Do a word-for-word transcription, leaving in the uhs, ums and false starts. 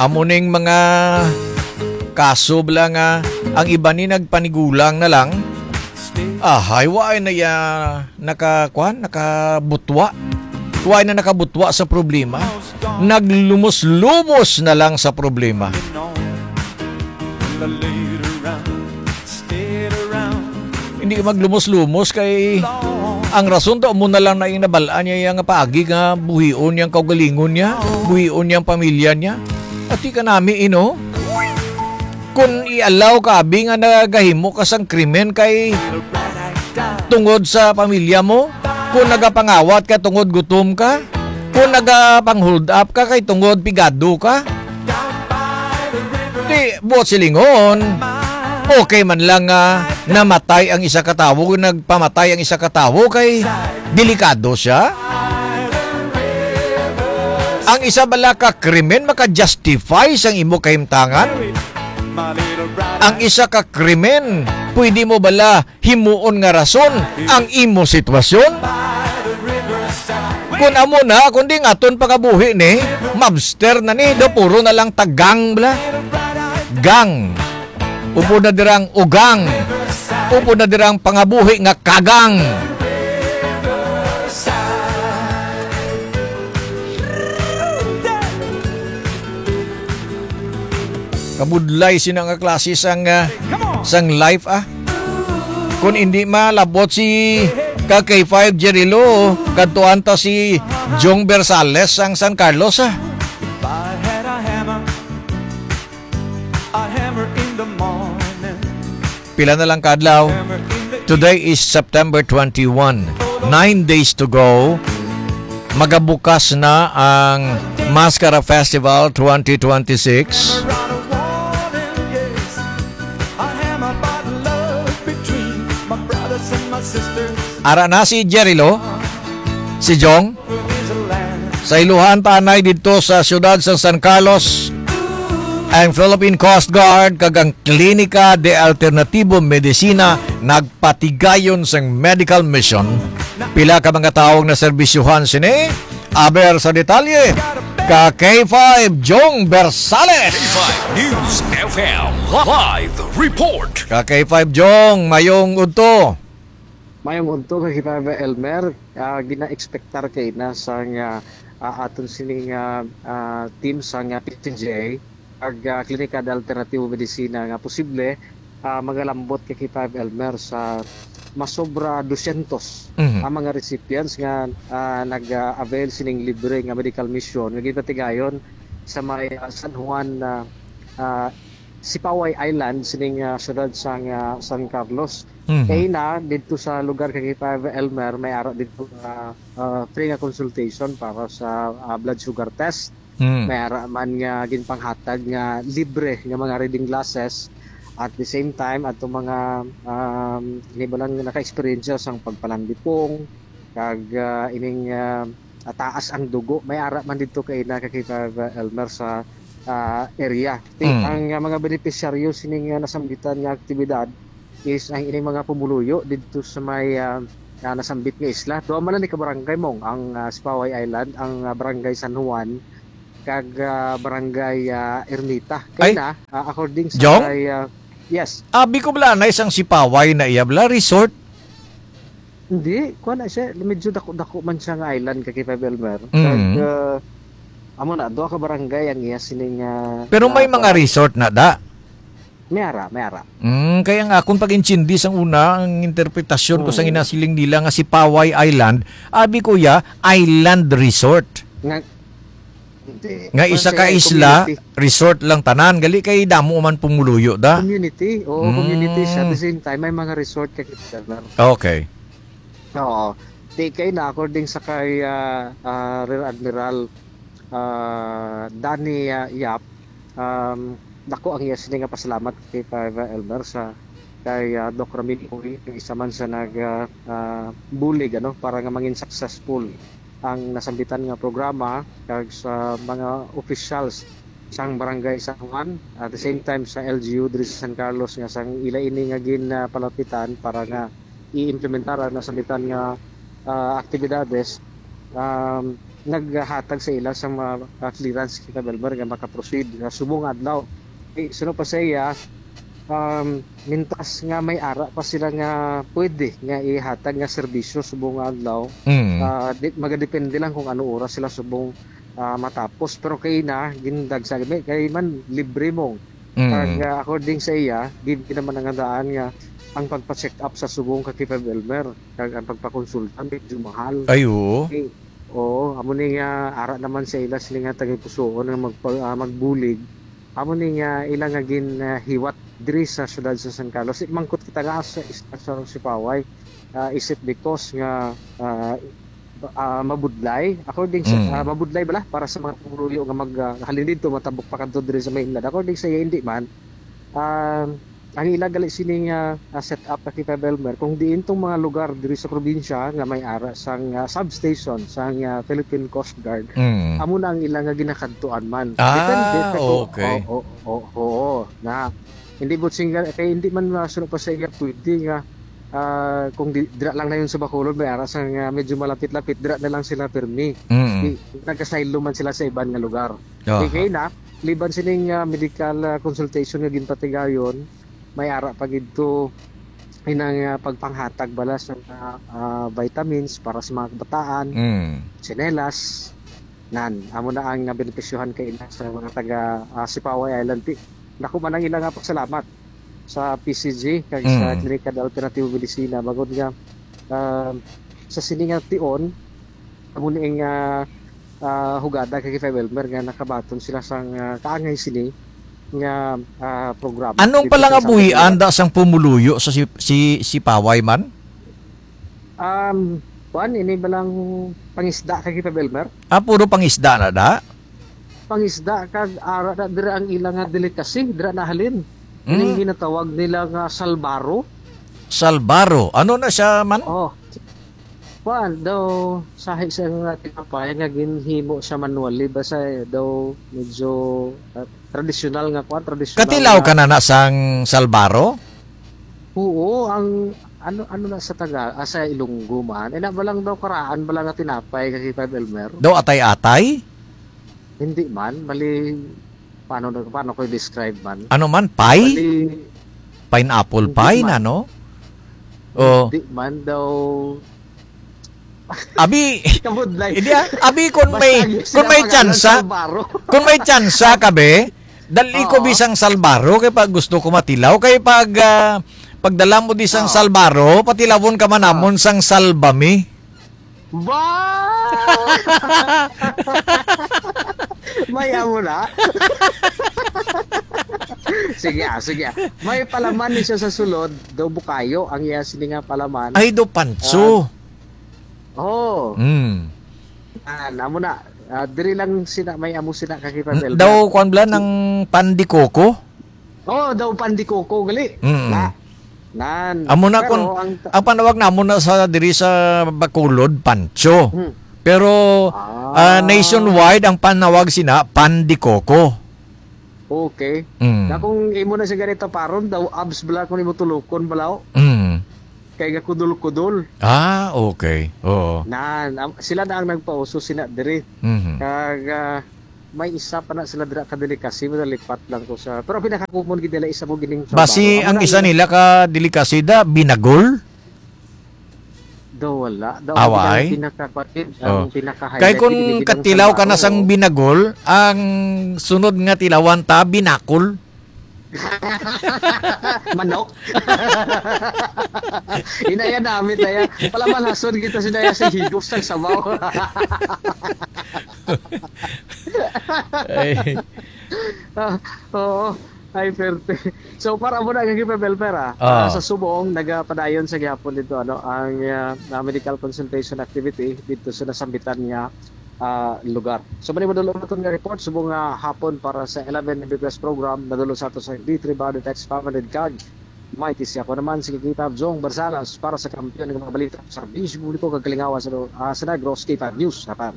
Amo ning mga kaso bala nga ang iba ni nagpanigulang na lang. Ahay, wa na ya naka, kwan, nakabutwa. Wa na nakabutwa sa problema. Naglumos-lumos na lang sa problema. Hindi ka maglumos-lumos kay ang rason to, amo na lang na yung nabal-an niya, yang paagi nga buhion niyang kaugalingon niya, buhion niyang pamilya niya. Ati ka nami, ino? Kung i-allow ka, abi, nga nagahimo ka sang krimen kay tungod sa pamilya mo, kung nagapangawat ka tungod gutom ka, kung nagapang-hold up ka kay tungod pigado ka, di, buot silingon, okay man lang nga namatay ang isa ka tawo, nagpamatay ang isa ka tawo kay delikado siya. Ang isa bala ka krimen maka-justify sang imo kahimtangan? Ang isa ka krimen, pwede mo bala himuon nga rason ang imo sitwasyon? Kun amo na, kundi nga aton pangabuhi ni, mobster na ni, do puro na lang tagang bala. Gang. Upod na dirang ugang. Upod na dirang pangabuhi nga kagang. Kabudlay sina nga klase sang, ah, sang life, ah. Kung hindi malabot si ka K five Jerry Lo, kadtuan ta si Jong Bersales sang San Carlos, ah. I had a hammer, a hammer in the morning. Pila na lang ka adlaw? Today is September twenty-one. Nine days to go. Magabukas na ang Mascara Festival twenty twenty-six. Ara na si Jerry Lo, si Jong. Sa iluhan ta anay didto sa siyudad sa San Carlos, ang Philippine Coast Guard kag ang Klinika de Alternativo Medicina nagpatigayon sang medical mission. Pila ka mga tawo ang naserbisyuhan sini? Aber sa detalye, ka K five Jong Bersales. K five News F M live report. Ka K five Jong, mayong udto. Mayong udto, ka K five Elmer. Ah, gina-expectar kay na sang, ah, ah, aton sining, ah, ah, team sang, ah, P C J, ag, ah, Klinika de Alternativo Medicina nga posible, ah, magalambot kay K five Elmer sa masobra dosyentos Mhm. ang mga recipients nga, ah, nag, ah, avail sining libre nga medical mission nga ginpatigayon sa may, ah, San Juan, ah, ah, Sipaway Island sining, ah, siyudad sang, ah, San Carlos. Mhm. Kay na didto sa lugar kay K five Elmer, may ara didto nga, ah, free nga consultation para sa, ah, blood sugar test. Mm. May ara man nga ginpanghatag nga libre nga mga reading glasses. At the same time, ato mga, um, ini ba lang naka-experience sang pagpalandipong, kag, ah, ining, ah, ah, taas ang dugo. May ara man didto kay na kay K five Elmer sa, ah, area. Ti-, Mm. ang, ah, mga benepisyaryo sining, ah, nasambitan nga aktibidad is ang ining mga pumuluyo didto sa may, ah, ah, nasambit nga isla. Duha man lang ni ka barangay, Mong, ang, ah, Sipaway Island, ang, ah, Barangay San Juan, kag, ah, Barangay, ah, Ermita. Kay Ay, na, ah, according sa Jong? Kay, ah, yes. Abi ko bala na isang Sipaway na iya bala, resort? Hindi, kuha na siya. Medyo dako-dako man siya nga island, ka K five Elmer. Mm. Kag, ah, amo na, duha ka barangay ang iya sining, ah, Pero may ah, mga kuha. Resort na da? May ara, may ara. Mm, kaya nga, akong pag-intindi sang una, ang interpretasyon ko sa Mm. ginasiling nila nga Sipaway Island, abi ko ya, island resort. Nga, hindi. Nga isa ka isla, community. Resort lang tanan. Gali kay damo man pumuluyo da. Community. Oo, community siya. At the same time, may mga resort ka kita. Okay. Oo. Di kay na, according sa kay, ah, ah, Rear Admiral, ah, Danny, ah, Yap, um, dako ang iya sini nga pasalamat kay Five Elmer sa kay, ah, Doc Ramin Uy, nga isa man sa nag, ah, ah, bulig, ano, para nga mangin successful ang nasambitan nga programa kag sa mga officials sang Barangay San Juan, at the same time sa L G U diri sa San Carlos nga sang ila ini nga ginpalapitan para nga i-implementar ang nasambitan nga, ah, aktibidades. Um, naghatag sa ila sa mga, ah, clearance kita, Belmer, nga makaproceed nga subong adlaw. Eh, suno pa sa iya, um, mintas nga may ara pa sila nga pwede nga ihatag nga serbisyo subong adlaw, Mm. ah, di, magadepende lang kung ano oras sila subong, ah, matapos. Pero kay na, gindag sa gabi, kay man libre mo. Mm. Kag, ah, according sa iya, libre naman ang daan nga ang pagpa-check up sa subong ka Kipa Belmer, kag ang pagpakonsulta medyo mahal. Ay, oo. Eh, oo, amo ni nga ara naman sa ila sila nga tagipusoon nga magpa-, ah, magbulig. Amo ni nga ila nga gin, ah, hiwat diri sa siyudad sa San Carlos. Mangkot kita nga sa, sa, sa Sipaway. Ah, is it because nga, ah, ah, mabudlay? According sa, Mm. ah, mabudlay bala para sa mga pumuluyo nga mag, ah, halin dito, matabok pa kadto diri sa mainland. According sa iya, hindi man. Ah, ang ila gali sining, ah, ah, set up na kita, Belmer, kung diin tong mga lugar diri sa probinsya nga may ara sang, ah, substation sang, ah, Philippine Coast Guard, Mm. amo na ang ila nga ginakadtuan man. Ah, Depende sa kung, okay. oo, oo, oo, na hindi mo singa-, kay hindi man masuno pa sa iya pwede nga, ah, kung di, dira lang na yun sa Bacolod, may ara sang, ah, medyo malapit-lapit, dira na lang sila pirmi. Mm. Di, nagkasaylo man sila sa iban nga lugar. Aha. Di kay na, liban sining, ah, medical, ah, consultation nga ginpatigayon, may ara pa gid to inang, ah, pagpanghatag bala sa mga, ah, vitamins para sa mga kabataan, Mm. tsinelas, nan. Amo na ang, ah, benepisyohan kay ila sa mga taga, ah, Sipaway Island. Ti-, dako man ang ila nga pasalamat sa P C G kag sa Mm. Klinika de Alternative Medicina. Bangod nga, ah, sa sini nga tion, amo ni ang, ah, ah, hugada kay Kipa Belmer nga nakabaton sila sang, ah, kaangay sini nga, ah, programa Anong dito sa palangabuhian Sambutuan. Da sang pumuluyo sa si, si, Sipaway man? Um, kuan, ini balang pangisda kay Kipa Belmer? Ah, puro pangisda na da? Pangisda kag ara na dira ang ila nga delicacy, dira na halin. Ining Mm. ginatawag nila nga salbaro. Salbaro. Ano na siya man? Oh. Kuan, daw, sahi siya nga tinapay nga ginhimo siya manually. Basta, eh, daw medyo, ah, tradisyonal nga kuan, tradisyonal Katilaw nga ka na na sang salbaro? Oo, ang ano, ano na sa Taga-, ah, sa Ilonggo man. Eh, na ba lang daw karaan ba lang nga tinapay kay Five Elmer? Daw atay-atay? Hindi man, bali, paano na, paano ko i-describe man? Ano man, pie? Bali, Pineapple Hindi pie man. na, no? Oh. Hindi man daw. Abi, Kabudlay. hindi, ah, abi, kung Basta may, ang kung may sinapangalan tsansa, sa baro. kung may tsansa ka, be, dali ko Oo. bisang salbaro, kay pag gusto ko matilaw, kay pag, ah, pagdala mo di sang Oo. salbaro, patilawon ka man Oo. namon sang salbami. Ba! May amo na. Sige, ah, sige, ah. May palaman ni siya sa sulod, daw bukayo ang iya sini nga palaman. Ay, do panso. Ah, oh. Mm. Ah, namo na. Ah, diri lang sina, may amo sina kay N-, Fabel. daw, kwan bala, Si- ng pan de coco? Oh, daw pan de coco, gali. Mm. Na. Nan. Amo na Pero kun, ang ta- ang panawag namo na sa diri sa Bacolod, pancho. Hmm. Pero, Ah. ah, nationwide ang panawag sina pan de coco. Okay. Mm. Na kung imo na siya ganito paron, daw abs bala kung imo tulukon bala, oh. Mm. Kay gakudol-kudol. Ah, okay. Oo. Nan, am-, sila na ang nagpauso sina diri. Mhm. Kag, ah, may isa pa na sila dira ka delicacy, madalipat lang ko sa, pero pinaka-common gid nila isa mo gining Basi trabaho. Amo ang na isa ang nila ka delicacy da, binagol? Daw wala. Daw Away? ang pinaka-, ang Oh. pinaka-highlight Kay kung gid nila katilaw ka na trabaho. sang binagol, ang sunod nga tilawan ta, binakol. Manok. Inaya namin, naya. Pala malhason kita si Naya sa higop sa sabaw. Ay. Ah, oo. Ay, perte. So, para mo na kay Pebel Pera, Ah. ah, sa subong, nagapadayon sa gihapon dito, ano, ang, ah, ah, medical consultation activity dito sa nasambitan nga, ah, lugar. So, mani madulong naton nga report, subong nga hapon para sa eleven N B P S program, nadulong sa ato sa D three Body Text Family Card. May tisi ako naman, si Kakita Jong Barsalas para sa kampiyon nga mga balita sa serbisyo publiko kag kalingawan sa, ah, sa Negros, K five News, Japan.